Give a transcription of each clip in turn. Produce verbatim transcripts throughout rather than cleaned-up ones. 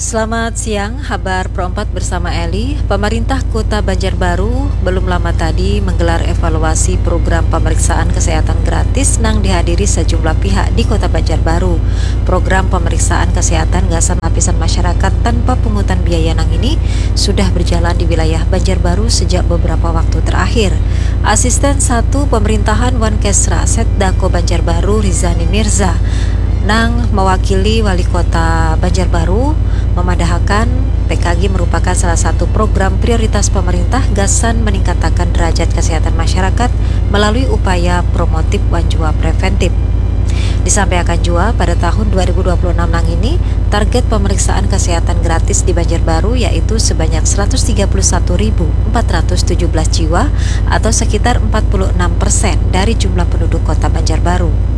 Selamat siang, habar Pro empat bersama Eli. Pemerintah Kota Banjarbaru belum lama tadi menggelar evaluasi program pemeriksaan kesehatan gratis nang dihadiri sejumlah pihak di Kota Banjarbaru. Program pemeriksaan kesehatan gasan lapisan masyarakat tanpa pungutan biaya nang ini sudah berjalan di wilayah Banjarbaru sejak beberapa waktu terakhir. Asisten satu Pemerintahan Wankesra Setdako Banjarbaru Rizani Mirza nang mewakili Wali Kota Banjarbaru memadahakan P K G merupakan salah satu program prioritas pemerintah gasan meningkatakan derajat kesehatan masyarakat melalui upaya promotif wan jua preventif. Disampaikan jua, pada tahun dua ribu dua puluh enam nang ini, target pemeriksaan kesehatan gratis di Banjarbaru yaitu sebanyak seratus tiga puluh satu ribu empat ratus tujuh belas jiwa atau sekitar empat puluh enam persen dari jumlah penduduk Kota Banjarbaru.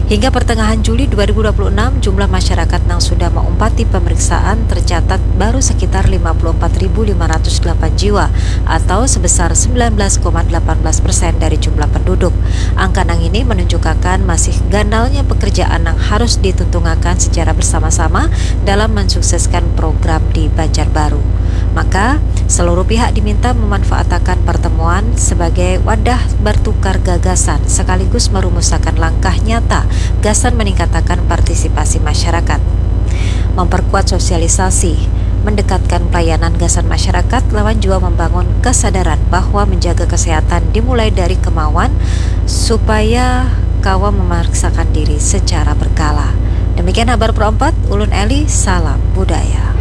Hingga pertengahan Juli dua ribu dua puluh enam, jumlah masyarakat nang sudah maumpati pemeriksaan tercatat baru sekitar lima puluh empat ribu lima ratus delapan jiwa atau sebesar sembilan belas koma delapan belas persen dari jumlah penduduk. Angka nang ini menunjukkan masih ganalnya pekerjaan nang harus dituntungakan secara bersama-sama dalam mensukseskan program di Banjarbaru. Maka, seluruh pihak diminta memanfaatakan pertemuan sebagai wadah bertukar gagasan sekaligus merumusakan langkah nyata gasan meningkatakan partisipasi masyarakat, memperkuat sosialisasi, mendekatkan pelayanan gasan masyarakat lawan jua membangun kesadaran bahwa menjaga kesehatan dimulai dari kemauan supaya kawa memeriksakan diri secara berkala. Demikian habar Pro empat, ulun Eli, salam budaya.